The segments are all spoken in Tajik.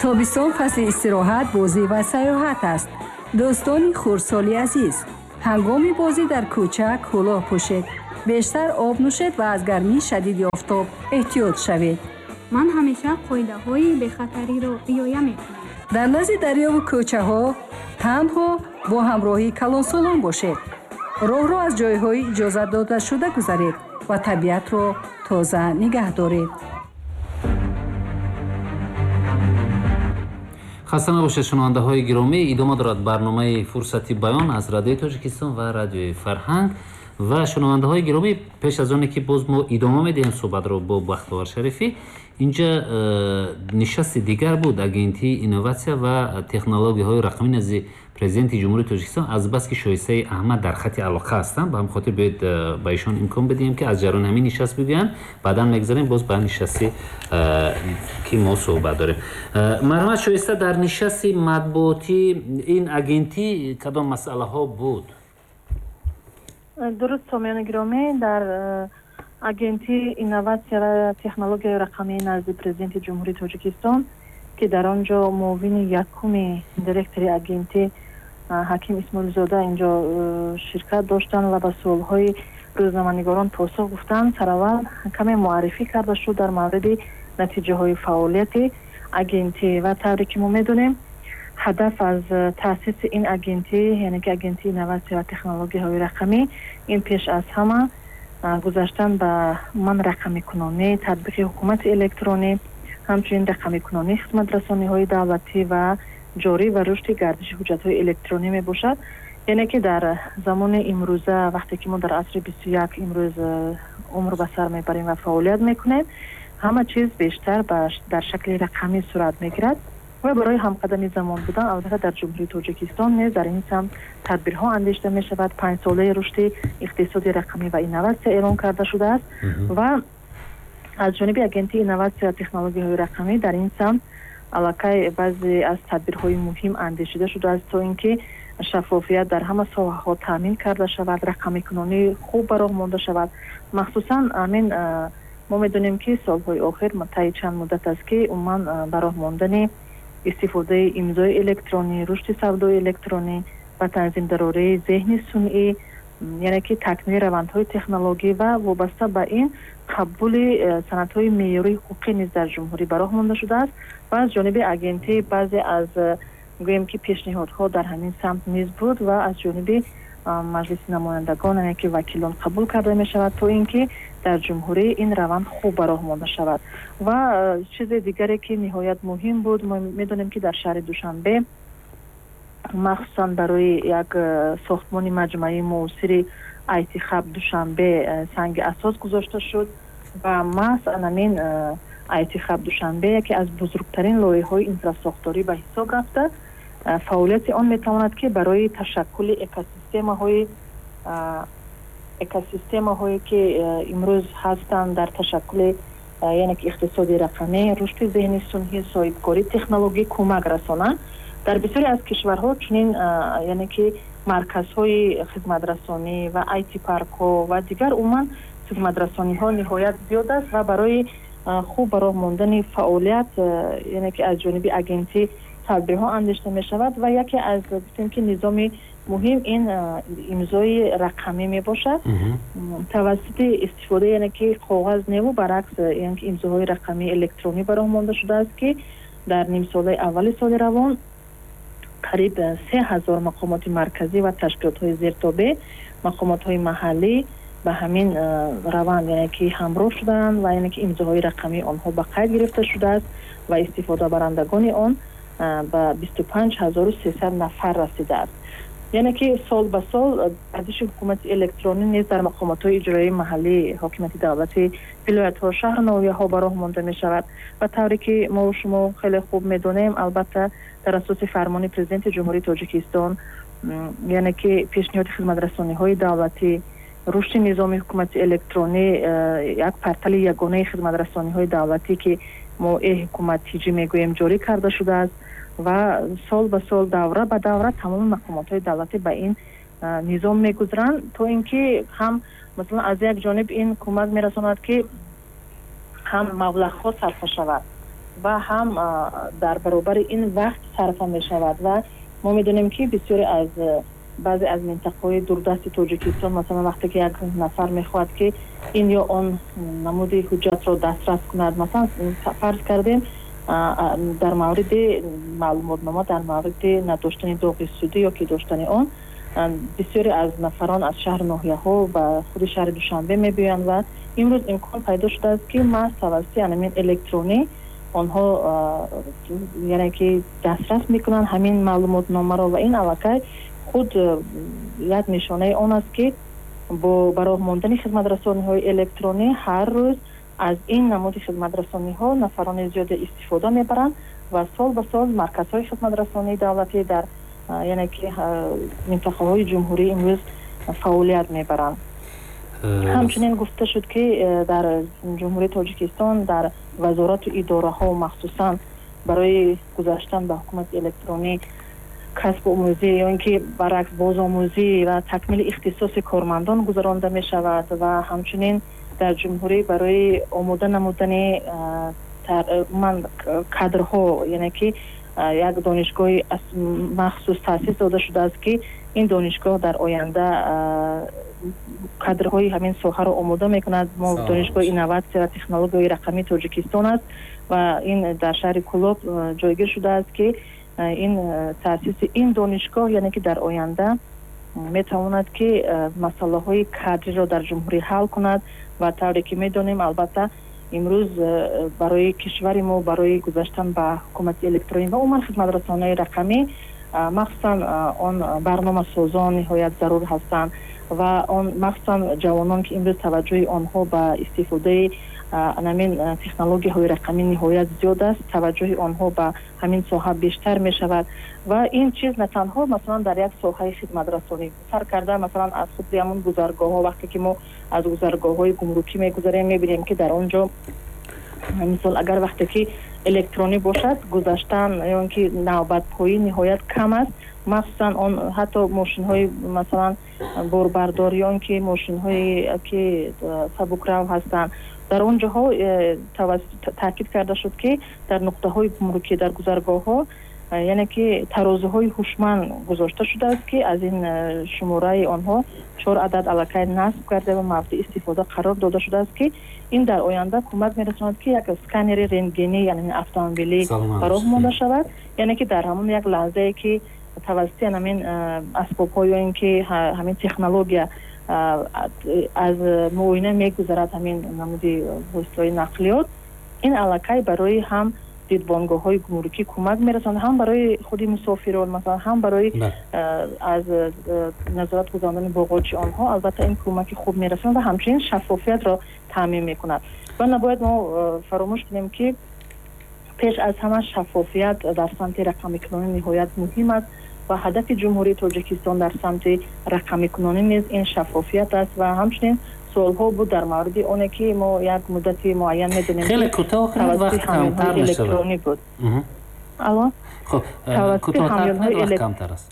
Тобистон фасли истироҳат, бозӣ ва сайёҳат аст. Дӯстони хурдсоли азиз, ҳангоми бозӣ дар кӯча кӯлоҳ пӯшед, бештар об нӯшед ва аз гармии шадиди офтоб эҳтиёт шавед. Ман ҳамеша қоидаҳои бехатариро риоя мекунам. Дар назди дарёву кӯчаҳо танҳо бо ҳамроҳии калонсолон бошед. Роҳро аз ҷойҳои иҷозат додашуда гузаред ва табиатро тоза нигаҳ доред. Хаста набошед, шунавандаҳои гиромӣ. Идома дорад барномаи «Фурсати баён» аз Радиои Тоҷикистон ва Радиои Фарҳанг. Ва шунавандаҳои гиромӣ, пеш аз оне ки боз мо идома медиҳем суҳбатро бо Бахтовар Шарифӣ, инҷа нишасти дигар буд, Агентии инноватсия ва технологияҳои рақамӣ назди Президенти Ҷумҳурии Тоҷикистон. Азбаски Шоистаи Аҳмад дар хати алоқа ҳастанд, ба ҳамин хотир биёед ба ишон имкон бидиҳем, ки аз ҷараёни ҳамин нишаст бигӯянд. Баъдан мегзарем боз ба нишасти, ки мо суҳбат дорем. Марҳамат, Шоиста, дар нишасти матбуотӣ ин агентӣ кадом масъалаҳо буд? Дуруст, сомиёни гиромӣ, дар Агентии инноватсия ва технологияи рақамии назди Президенти Ҷумҳурии Тоҷикистон, ки дар он ҷо муовини якуми директори агентӣ Ҳаким Исмоилзода инҷо ширкат доштанд ва ба суолҳои рӯзноманигорон посух гуфтанд, сараввал каме муаррифӣ карда шуд дар мавриди натиҷаҳои фаъолияти агентӣ. Ва тавре ки мо медонем, ҳадаф аз таъсиси ин агентӣ, яъне ки Агентии инноватсия ва технологияҳои рақамӣ, ин пеш аз ҳама гузаштан ба ман рақамикунонӣ, татбиқи ҳукумати электронӣ, ҳамчунин рақамикунонии хизматрасониҳои давлатӣ ва ҷорӣ ва рушди гардиши ҳуҷҷатҳои электронӣ мебошад. Яъне ки дар замони имрӯза, вақте ки мо дар асри 21 имрӯз умр ба сар мебарем ва фаъолият мекунем, ҳама чиз бештар дар шакли рақамӣ сурат мегирад ва барои ҳамқадами замон будан, албатта, дар Ҷумҳурии Тоҷикистон низ дар ин самт тадбирҳо андешида мешавад. Панҷсолаи рушди иқтисоди рақамӣ ва инноватсия эълон карда шудааст ва аз ҷониби Агентии инноватсия ва технологияҳои рақамӣ дар ин самт аллакай баъзе аз тадбирҳои муҳим андешида шудааст, то ин ки шаффофият дар ҳама соҳаҳо таъмин карда шавад, рақамикунонӣ хуб ба роҳ монда шавад. Махсусан амин мо медонем, ки солҳои охир, таи чанд муддат аст, ки умуман ба роҳ мондани истифодаи имзои электронӣ, рушди савдои электронӣ ва танзимдарории зеҳни сунъӣ, яъне ки такмили равандҳои технологӣ ва вобаста ба ин қабули санадҳои меъёрии ҳуқуқӣ низ дар ҷумҳурӣ ба роҳ монда шудааст. Ва аз ҷониби агентӣ баъзе аз, гӯем ки, пешниҳодҳо дар ҳамин самт низ буд ва аз ҷониби Маҷлиси намояндагон, яъне ки вакилон, қабул карда мешавад, то ин ки дар ҷумҳурӣ ин раванд хуб ба роҳ монда шавад. Ва чизи дигаре, ки ниҳоят муҳим буд, мо медонем, ки дар шаҳри Душанбе махсусан барои як сохтмони маҷмӯаи муосири IT Hub Душанбе санги асос гузошта шуд ва маҳз анамин IT Hub Душанбе яке аз бузургтарин лоиҳаҳои инфрасохторӣ ба ҳисоб рафта, фаъолияти он метавонад, ки барои ташаккули экосистемаҳое, ки имрӯз ҳастанд дар ташаккули, яъне ки иқтисоди рақамӣ, рушди зеҳни сунъӣ, соҳибкорӣ, технологӣ кӯмак расонанд. Дар бисёре аз кишварҳо чунин, яъне ки марказҳои хизматрасонӣ ва IT паркҳо ва дигар умуман хизматрасониҳо ниҳоят зиёд аст ва барои хуб ба роҳ мондани фаъолият, яъне ки аз ҷониби агентӣ тадбирҳо андешида мешавад. Ва яке аз, гуфтем ки, низоми муҳим ин имзои рақамӣ мебошад. Тавассути истифода, яъне ки коғаз неву баръакс, яъне ки имзоҳои рақамии электронӣ ба роҳ монда шудааст, ки дар нимсолаи аввали соли равон қариб 3000 мақомоти марказӣ ва ташкилотҳои зертобеъ, мақомотҳои маҳаллӣ ба ҳамин раванд, яъне ки ҳамроҳ шудаанд ва яъне ки имзоҳои рақамии онҳо ба қайд гирифта шудааст ва истифодабарандагони он ба 25 300 нафар расидааст. Яъне ки сол ба сол гардиши ҳукумати электронӣ низ дар мақомотҳои иҷроии маҳаллии ҳокимияти давлатӣ, вилоятҳо, шаҳру ноҳияҳо ба роҳ монда мешавад. Ва тавре ки мо шумо хеле хуб медонем, албатта, дар асоси фармони Президенти Ҷумҳурии Тоҷикистон, яъне ки пешниҳоди хизматрасониҳои давлатӣ, рушди низоми ҳукумати электронӣ, як портали ягонаи хизматрасониҳои давлатӣ, ки мо Е-ҳукумат TJ мегӯем, ҷорӣ карда шудааст ва сол ба сол, давра ба давра тамоми мақомотҳои давлатӣ ба ин низом мегузаранд, то ин ки ҳам, масалан, аз як ҷониб ин кӯмак мерасонад, ки ҳам маблағҳо сарфа шавад. Ва ҳам дар баробари ин вақт сарфа мешавад. Ва мо медонем, ки бисёре аз баъзе аз минтақаҳои дурдасти Тоҷикистон, масалан, вақте ки як нафар мехоҳад, ки ин ё он намуди ҳуҷҷатро дастрас кунад, масалан, фарз кардем, дар мавриди маълумотнома дар мавриди надоштани доғи судӣ ё ки доштани он, бисёре аз нафарон аз шаҳру ноҳияҳо ба худи шаҳри Душанбе мебиёянд. Ва имрӯз имкон пайдо шудааст, ки маҳз тавассути ҳамин электронӣ онҳо, яъне ки, дастрас мекунанд ҳамин маълумотномаро. Ва ин аллакай худ як нишонаи он аст, ки бо ба роҳ мондани хизматрасониҳои электронӣ ҳар рӯз аз ин намуди хизматрасониҳо нафарони зиёде истифода мебаранд ва сол ба сол марказҳои хизматрасонии давлатӣ дар, яъне ки, минтақаҳои ҷумҳурӣ имрӯз фаъолият мебаранд. Ҳамчунин гуфта шуд, ки дар Ҷумҳурии Тоҷикистон дар вазорату идораҳо, махсусан барои гузаштан ба ҳукумати электронӣ, касбу омӯзӣ ё ин ки баръакс бозомӯзӣ ва такмили ихтисоси кормандон гузаронда мешавад. Ва ҳамчунин дар ҷумҳурӣ барои омода намудани ман кадрҳо, яъне ки, як донишгоҳи махсус таъсис дода шудааст, ки ин донишгоҳ дар оянда кадрҳои ҳамин соҳаро омода мекунад. Мо Донишгоҳи инноватсия ва технологияи рақамии Тоҷикистон аст ва ин дар шаҳри Кӯлоб ҷойгир шудааст, ки ин таъсиси ин донишгоҳ, яъне ки, дар оянда метавонад, ки масъалаҳои кадриро дар ҷумҳурӣ ҳал кунад. Ва тавре ки медонем, албатта, имрӯз барои кишвари мо, барои гузаштан ба ҳукумати электронӣ ва умуман хизматрасониҳои рақамӣ, махсусан он барномасозон ниҳоят зарур ҳастанд ва он махсусан ҷавонон, ки имрӯз таваҷҷӯҳи онҳо ба истифодаи ҳамин технологияҳои рақамӣ ниҳоят зиёд аст, таваҷҷӯҳи онҳо ба ҳамин соҳа бештар мешавад. Ва ин чиз на танҳо, масалан, дар як соҳаи хизматрасонӣ сар карда, масалан, аз худи ҳамон гузаргоҳҳо, вақте ки мо аз гузаргоҳҳои гумрукӣ мегузарем, мебинем, ки дар он ҷо, мисол, агар вақте ки электронӣ бошад, гузаштан ё ин ки навбатпоӣ ниҳоят кам аст. Махсусан он ҳатто мошинҳои, масалан, борбардор ё ин ки мошинҳое ки сабукрав ҳастанд, дар он ҷоҳо таъкид карда шуд, ки дар нуқтаҳои гумрукӣ, дар гузаргоҳҳо, яъне ки, тарозуҳои ҳушманд гузошта шудааст, ки аз ин шумораи онҳо чор адад аллакай насб карда ва мавриди истифода қарор дода шудааст, ки ин дар оянда кӯмак мерасонад, ки як сканери рентгенӣ, яъне автомобилӣ, ба роҳ монда шавад, яъне ки, дар ҳамон як лаҳзае ки тавассути ҳамин асбобҳо ё ин ки ҳамин технология аз муоина мегузарад ҳамин намуди воситаҳои нақлиёт, ин аллакай барои ҳам дидбонгоҳҳои гумрукӣ кӯмак мерасонад, ҳам барои худи мусофирон, масалан, ҳам барои аз назорат гузарондани боғочи онҳо, албатта, ин кӯмаки хуб мерасонад ва ҳамчунин шаффофиятро таъмин мекунад. Ва набояд мо фаромӯш кунем, ки пеш аз ҳама шаффофият дар самти рақамикунонӣ ниҳоят муҳим аст ва ҳадафи Ҷумҳурии Тоҷикистон дар самти рақамикунонӣ низ ин шаффофият аст. Ва ҳамчунин суолҳо буд дар мавриди оне ки мо як муддати муайян медонем Хеле кӯтоҳ, вақт камтар. Электронӣ буд. Алло. Хуб, кӯтоҳтар, камтар аст.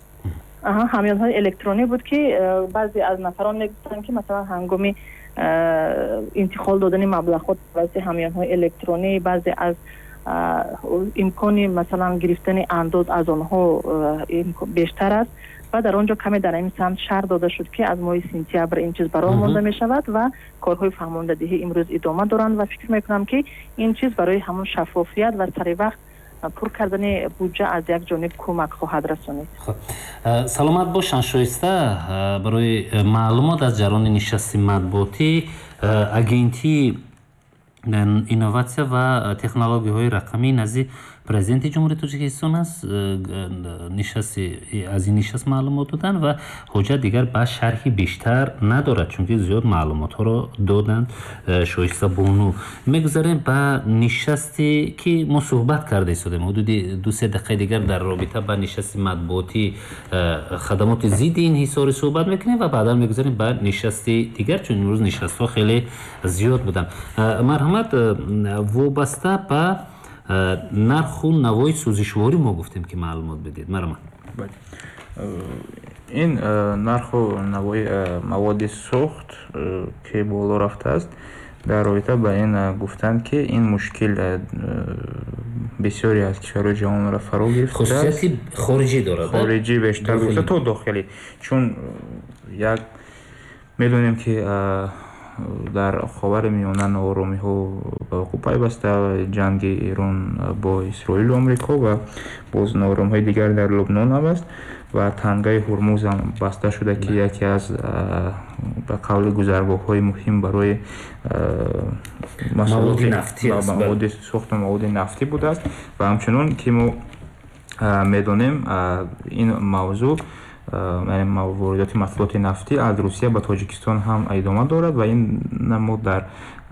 Ҳамёнҳои электронӣ буд, ки баъзе аз нафарон мегуфтанд, ки масалан, ҳангоми интиқол додани маблағҳо тавассути ҳамёнҳои электронӣ баъзе аз имкони, масалан, гирифтани андоз аз онҳо бештар аст. Ва дар он ҷо каме дар ин самт шарҳ дода шуд, ки аз моҳи сентябр ин чиз ба роҳ монда мешавад ва корҳои фаҳмондадиҳӣ имрӯз идома доранд. Ва фикр мекунам, ки ин чиз барои ҳамон шаффофият ва сари вақт пур кардани буҷа аз як ҷониб кӯмак хоҳад расонид. Саломат бошанд, Шоиста, барои маълумот аз ҷараёни нишасти матбуотӣ Агентии инноватсия ва технологияҳои рақамӣ назди Президенти Ҷумҳурии Тоҷикистон аст. Нишасти аз ин нишаст маълумот доданд ва ҳоҷат дигар ба шарҳи бештар надорад, чунки зиёд маълумотҳоро доданд Шоиста бону. Мегузарем ба нишасте ки мо суҳбат карда истодем. Ҳудуди 2-се дақиқаи дигар дар робита ба нишасти матбуотӣ хадамоти зидди инҳисорӣ суҳбат мекунем ва баъдан мегузарем ба нишасти дигар, чун имрӯз нишастҳо хеле зиёд буданд. Марҳамат, вобаста ба нарху навои сӯзишворӣ мо гуфтем, ки маълумот бидед, марҳамат. Ин нарху навои маводи сӯхт, ки боло рафтааст. Дар робита ба ин гуфтанд, ки ин мушкил бисёре аз кишварҳои ҷаҳонро фаро гирифтааст. Хусусияти хориҷӣ дорад, хориҷӣ бештар гуфта то дохилӣ, чун як медонем, ки дар Ховари Миёна нооромиҳо ба вуқӯъ пайваста, ҷанги Эрон бо Исроилу Амрико ва боз нооромиҳои дигар дар Лубнон ҳам аст ва тангаи Ҳурмуз ҳам баста шуда, ки яке аз ба қавли гузаргоҳҳои муҳим барои маводи сӯхту маводи нафтӣ будааст. Ва ҳамчунон ки мо медонем, ин мавзӯъ, яъне воридоти маҳсулоти нафтӣ аз Русия ба Тоҷикистон ҳам идома дорад ва ин мо дар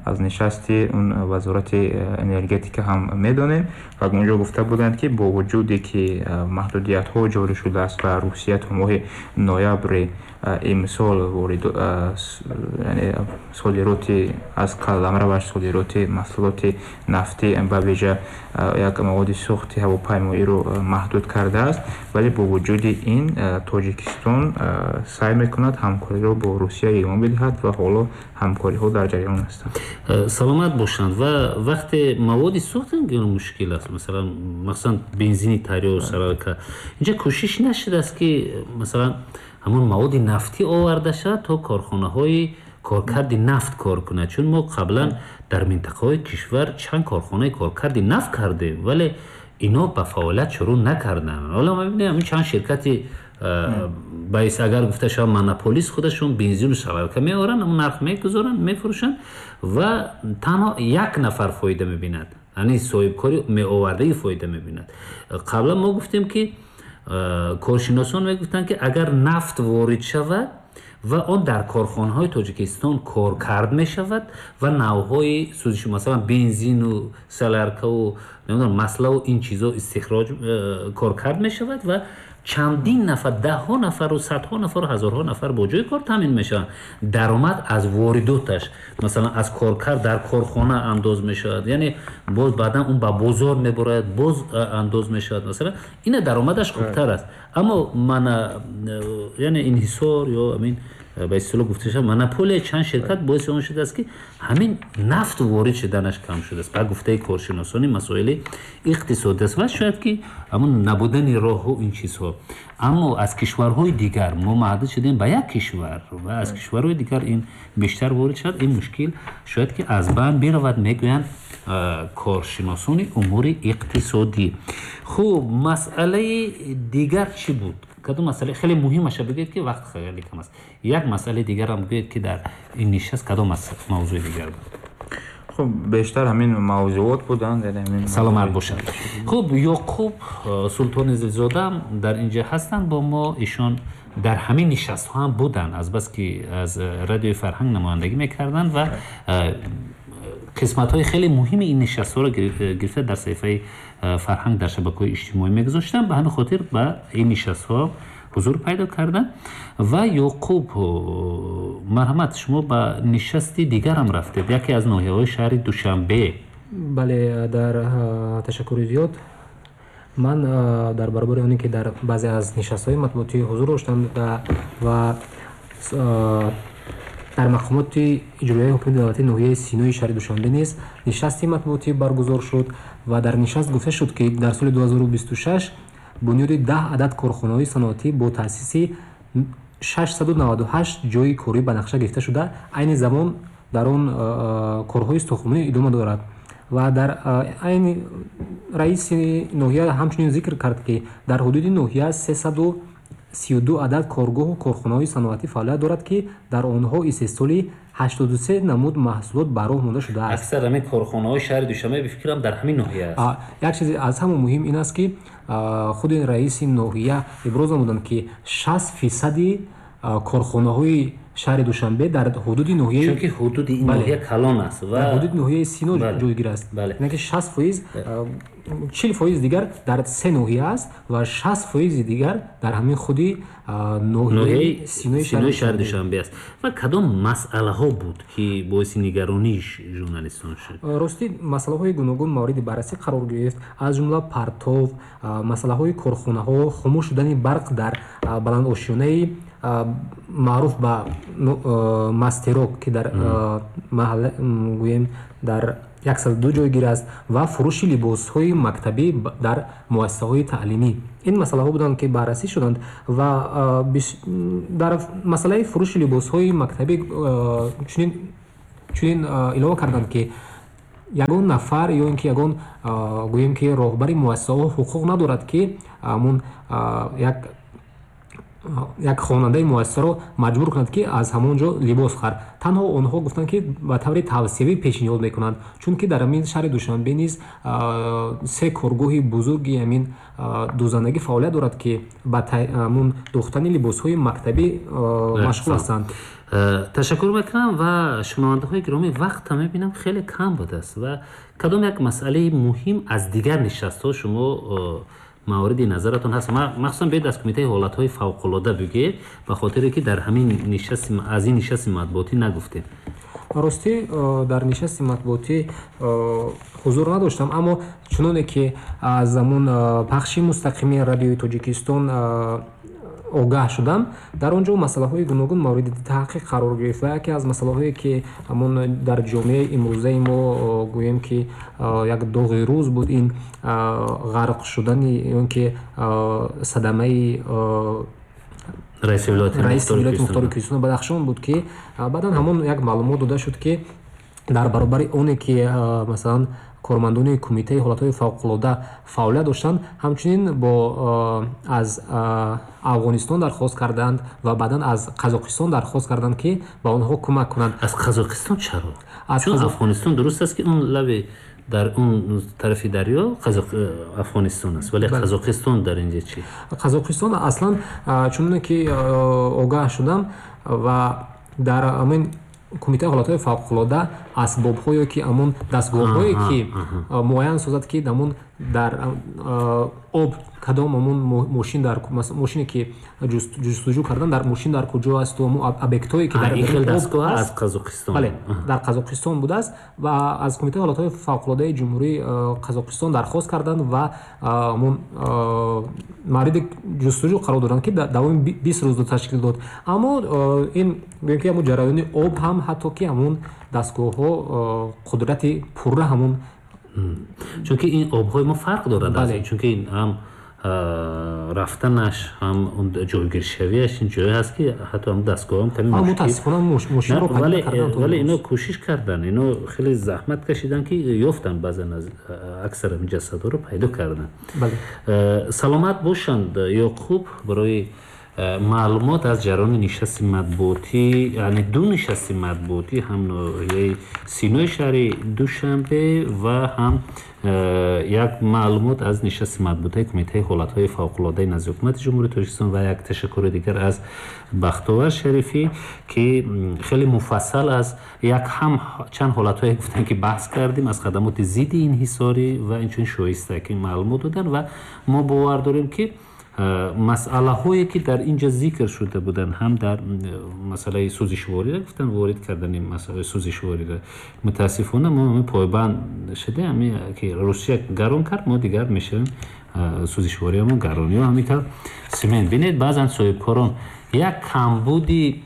аз нишасти он вазорати энергетика ҳам медонем ва онҷо гуфта буданд, ки бо вуҷуде ки маҳдудиятҳо ҷорӣ шудааст ва Русия то моҳи ноябри имсол яъне содироти аз қаламраваш содироти маҳсулоти нафтӣ, ба вижа як маводи сӯхти ҳавопаймоиро маҳдуд кардааст, вале бо вуҷуди ин Тоҷикистон саъй мекунад ҳамкориро бо Русия идома бидиҳад ва ҳоло ҳамкориҳо дар ҷараён ҳастанд. Саломат бошанд. Ва вақте маводи сӯхт мушкил аст, масалан, махсусан бензини тарё, солярка, инҷа кӯшиш нашудааст, ки масалан ҳамон маводи нафтӣ оварда шавад, то корхонаҳои коркарди нафт кор кунад? Чун мо қаблан дар минтақаҳои кишвар чанд корхонаи коркарди нафт кардем, вале ино ба фаъолият шурӯъ накарданд. Ҳоло ма бибинем, чанд ширкати баис, агар гуфта шавад, монополист, худашон бензину солярка меоранд, ҳамон нарх мегузоранд, мефурӯшанд ва танҳо як нафар фоида мебинад, яъне соҳибкори меовардаи фоида мебинад. Қаблан мо гуфтем, ки коршиносон мегуфтанд, ки агар нафт ворид шавад ва он дар корхонаҳои Тоҷикистон коркард мешавад ва навъҳои сӯзиш, масалан бензину соляркаву намедонам маславу ин чизо истихроҷ коркард мешавад ва чандин нафар, даҳҳо нафару садҳо нафару ҳазорҳо нафар бо ҷои кор таъмин мешаванд. Даромад аз воридоташ, масалан аз коркард дар корхона андоз мешавад, яъне боз баъдан он ба бозор мебурад, боз андоз мешавад, масалан ина даромадаш хубтар аст. Аммо мана, яъне инҳисор ё амин ба истилоҳ гуфта шавад монополия чанд ширкат боиси он шудааст, ки ҳамин нафт ворид шуданаш кам шудааст, ба гуфтаи коршиносони масоили иқтисодӣ аст. Ва шояд ки ҳамон набудани роҳу ин чизҳо. Аммо аз кишварҳои дигар мо маҳдуд шудем ба як кишвар ва аз кишварҳои дигар ин бештар ворид шавад, ин мушкил шояд ки аз байн биравад, мегӯянд коршиносони умури иқтисодӣ. Хуб, масъалаи дигар чӣ буд? Кадом масъала хеле муҳимаша бигӯед, ки вақт хеле кам аст. Як масъалаи дигарам бигӯед, ки дар ин нишаст кадом мавзӯи дигар буд? Хуб, бештар ҳамин мавзӯот буданд. Саломат бошад. Хуб, Ёқуб Султони Зилзода дар инҷа ҳастанд бо мо. Ишон дар ҳамин нишастҳо ҳам буданд, азбаски аз Радиои Фарҳанг намояндагӣ мекарданд ва қисматҳои хеле муҳими ин нишастҳоро гирифта дар саҳифаи Фарҳанг дар шабакаҳои иҷтимоӣ мегузоштанд. Ба ҳамин хотир ба ин нишастҳо ҳузур пайдо карданд. Ва Ёқуб, марҳамат, шумо ба нишасти дигарам рафтед, яке аз ноҳияҳои шаҳри Душанбе. Бале, дар ташаккури зиёд. Ман дар баробари оне ки дар баъзе аз нишастҳои матбуотӣ ҳузур доштам ва дар мақомоти иҷроияи ҳукумати давлатии ноҳияи Синои шаҳри Душанбе низ нишасти матбуотӣ баргузор шуд ва дар нишаст гуфта шуд, ки дар соли 2026 бунёди 10 адад корхонаҳои саноатӣ бо таъсиси 698 ҷойи корӣ ба нақша гирифта шуда, айни замон дар он корҳои сохтмонӣ идома дорад. Ва дар айни раиси ноҳия ҳамчунин зикр кард, ки дар ҳудуди ноҳия 332 адад коргоҳу корхонаҳои саноатӣ фаъолият дорад, ки дар онҳо истеҳсоли 83 намуд маҳсулот ба роҳ монда шудааст. Аксар ҳамин корхонаҳои шаҳри Душанбе, бификрам, дар ҳамин ноҳия аст. Як чизи аз ҳама муҳим ин аст, ки худи раиси ноҳия иброз намуданд, ки 60 фисади корхонаҳои шаҳри Душанбе дар ҳудуди ноҳияи Чунки ҳудуди ин ноҳия калон аст ва дар ҳудуди ноҳияи Сино ҷойгир аст. Яъне ки 60%, 40% дигар дар се ноҳия аст ва 60 фоизи дигар дар ҳамин худи ноҳияи Синои шаҳри Душанбе аст. Ва кадом масъалаҳо буд, ки боиси нигаронии журналистон шуд? Ростӣ, масъалаҳои гуногун мавриди баррасӣ қарор гирифт, аз ҷумла партов, масъалаҳои корхонаҳо, хомӯш шудани барқ дар баландошёнаи Маъруф ба Мастерок, ки дар маҳалла, гӯем, дар 102 ҷойгир аст, ва фурӯши либосҳои мактабӣ дар муассисаҳои таълимӣ. Ин масъалаҳо буданд, ки баррасӣ шуданд, ва дар масъалаи фурӯши либосҳои мактабӣ чунин илова карданд, ки ягон нафар ё ин ки ягон, гӯем ки, роҳбари муассисаҳо ҳуқуқ надорад, ки ҳамун як хонандаи муассисаро маҷбур кунад, ки аз ҳамон ҷо либос хар. Танҳо онҳо гуфтанд, ки ба таври тавсиявӣ пешниҳод мекунанд, чунки дар ҳамин шаҳри Душанбе низ се коргоҳи бузурги ҳамин дӯзандагӣ фаъолият дорад, ки ба ҳамун дӯхтани либосҳои мактабӣ машғул ҳастанд. Ташаккур мекунам. Ва шунавандаҳои гиромӣ, вақта мебинам, хеле кам будааст. Ва кадом як масъалаи муҳим аз дигар нишастҳо шумо мавриди назаратон ҳаст? Махсусан биёед, аз Кумитаи ҳолатҳои фавқулода бигӯед, ба хотире ки дар ҳамин нишасти аз ин нишасти матбуотӣ нагуфтем. Ростӣ, дар нишасти матбуотӣ ҳузур надоштам, аммо чуноне ки аз ҳамун пахши мустақими Радиои Тоҷикистон огаҳ шудам, дар он ҷо масъалаҳои гуногун мавриди таҳқиқ қарор гирифт. Ва яке аз масъалаҳое, ки ҳамун дар ҷомеаи имрӯзаи мо, гӯем ки, як доғи рӯз буд, ин ғарқ шудани ё ки садамаи раиси вилояти мухтори Кӯҳистони Бадахшон буд, ки баъдан ҳамон як маълумот дода шуд, ки дар баробари оне ки, масалан, кормандони Кумитаи ҳолатҳои фавқулода фаъолият доштанд, ҳамчунин бо аз Афғонистон дархост карданд ва баъдан аз Қазоқистон дархост карданд, ки ба онҳо кӯмак кунанд. Аз Қазоқистон чаро? Чун Афғонистон, дуруст аст, ки он лаби дар он тарафи дарё Афғонистон аст, вале Қазоқистон дар инҷа чӣ? Қазоқистон аслан, чуноне ки огаҳ шудам, ва дар ҳамин Кумитаи ҳолатҳои фавқулода асбобҳое, ки ҳамон дастгоҳҳое, ки муайян созад, ки ҳамон дар об кадом ҳамон мошин, дар мошине ки ҷустуҷӯ кардан дар мошин дар куҷо асту ҳамон объектҳое, ки дар дастгоҳ аз Қазоқистон? Бале, дар Қазоқистон будааст ва аз Кумитаи ҳолатҳои фавқулодаи Ҷумҳурии Қазоқистон дархост карданд ва ҳамон мавриди ҷустуҷӯ қарор доданд, ки давоми 20 рӯзро ташкил дод. Аммо ин, гӯем ки, ҳамон ҷараёни об ҳам ҳатто ки ҳамон дастгоҳҳо қудрати пурра ҳамон Чунки ин обҳои мо фарқ дорад, чунки ҳам рафтанаш, ҳам ҷойгиршавиаш, ин ҷое ҳаст, ки ҳатто ҳам дастгоҳам каме Мутаассифона, мошинро Вале ино кӯшиш карданд, ино хеле заҳмат кашиданд, ки ёфтанд, баъзан аз аксар ҷасадҳоро пайдо карданд. Саломат бошанд, Ёқуб, барои маълумот аз ҷараёни нишасти матбуотӣ, яъне ду нишасти матбуотӣ, ҳам ноҳияи Синои шаҳри Душанбе ва ҳам як маълумот аз нишасти матбуотии Кумитаи ҳолатҳои фавқулодаи назди Ҳукумати Ҷумҳурии Тоҷикистон. Ва як ташаккури дигар аз Бахтовар Шарифӣ, ки хеле муфассал аз як ҳам чанд ҳолатҳое гуфтанд, ки баҳс кардем, аз хадамоти зидди инҳисорӣ ва инчунин шоиста, ки маълумот доданд. Ва мо бовар дорем, ки масъалаҳое, ки дар ин ҷо зикр шуда буданд, ҳам дар масъалаи сӯзишвориро гуфтанд, ворид кардани масъалаи сӯзишвориро, мутаассифона мо пойбанд шуда, ки Русия гарон кард, мо дигар мешавем сӯзишвориамон гарон, ё ҳамин тавр симент. Бинед, баъзан соҳибкорон як камбуди,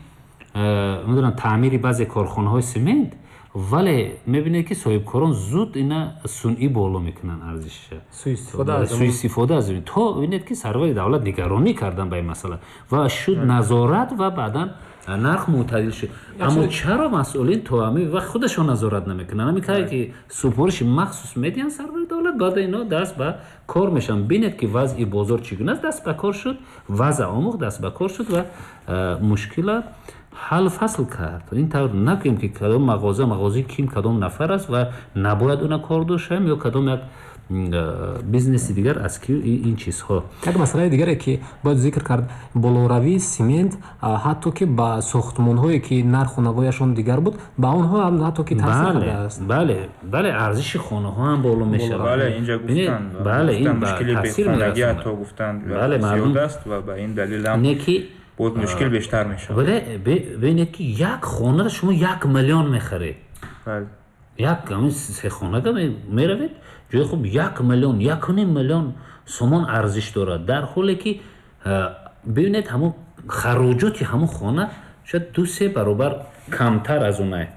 медонам, таъмири баъзе корхонаҳои симент, вале мебинед, ки соҳибкорон зуд ина сунъӣ боло мекунанд арзишша, суистифода аз. То бинед, ки сарвари давлат нигаронӣ кардан ба ин масъала ва шуд назорат ва баъдан нарх мӯътадил шуд. Аммо чаро масъулин то ҳамин вақт худашон назорат намекунанд? Ҳамин кае ки супориши махсус медиҳанд сарвари давлат, баъда ино даст ба кор мешаванд. Бинед, ки вазъи бозор чӣ гуна аст, даст ба кор шуд, вазъ омӯхт, даст ба кор шуд ва мушкила ҳал фасл кард. Ин тавр накунем, ки кадом мағоза мағозаи ким, кадом нафар аст ва набояд уна кордор шавем, ё кадом як бизнеси дигар аз ки ин чизҳо. Як масъалаи дигаре, ки бояд зикр кард: болоравии симент ҳатто ки ба сохтмонҳое, ки нарху навояшон дигар буд, ба онҳо ҳам ҳатто ки таъсир кардааст. Бале, арзиши хонаҳо ҳам боло мешавад. Бале, инҷа гуфтанд. Бале, ин мушкили бехонагӣ ҳатто гуфтанд зиёд аст ва ба ин далел ҳам не ки боз мушкил бештар мешавад. Вале бинед, ки як хонаро шумо 1 миллион мехаред, як ҳамин сехонага меравед, ҷои хуб, 1 миллион, 1.5 миллион сомон арзиш дорад, дар ҳоле ки бибинед, ҳамон Хароҷоти ҳамун хона шояд 2-3 баробар камтар аз онае,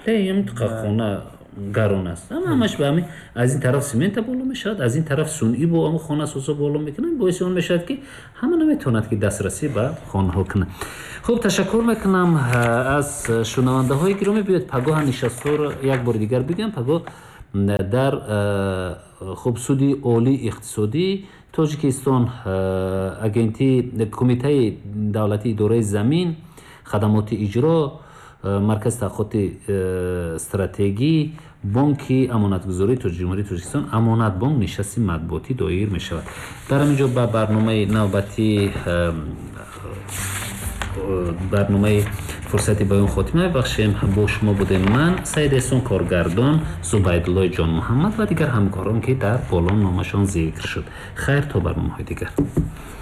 вале хона гарон аст. Ҳамаш ба ҳамин, аз ин тараф семента боло мешавад, аз ин тараф сунъӣ бо ҳамун хонасозо боло мекунанд, боиси он мешавад, ки ҳама наметавонад, ки дастрасӣ ба хонаҳо кунад. Хуб, ташаккур мекунам аз шунавандаҳои гиромӣ. Биёед, пагоҳа нишастҳоро як бори дигар бигӯям. Пагоҳ дар, хуб, Суди олии иқтисодии Тоҷикистон, агентии Кумитаи давлатии идораи замин, хадамоти иҷро, Маркази таҳқиқоти стратегӣ, Бонки амонатгузории Ҷумҳурии Тоҷикистон, Амонатбонк нишасти матбуотӣ доир мешавад. Дар ҳамин ҷо ба барномаи навбатӣ, барномаи «Фурсати баён» хотима мебахшем. Бо шумо будем ман, Саид Эҳсон, коргардон Зубайдуллои Ҷонмуҳаммад ва дигар ҳамкорон, ки дар боло номашон зикр шуд. Хайр, то барномаҳои дигар.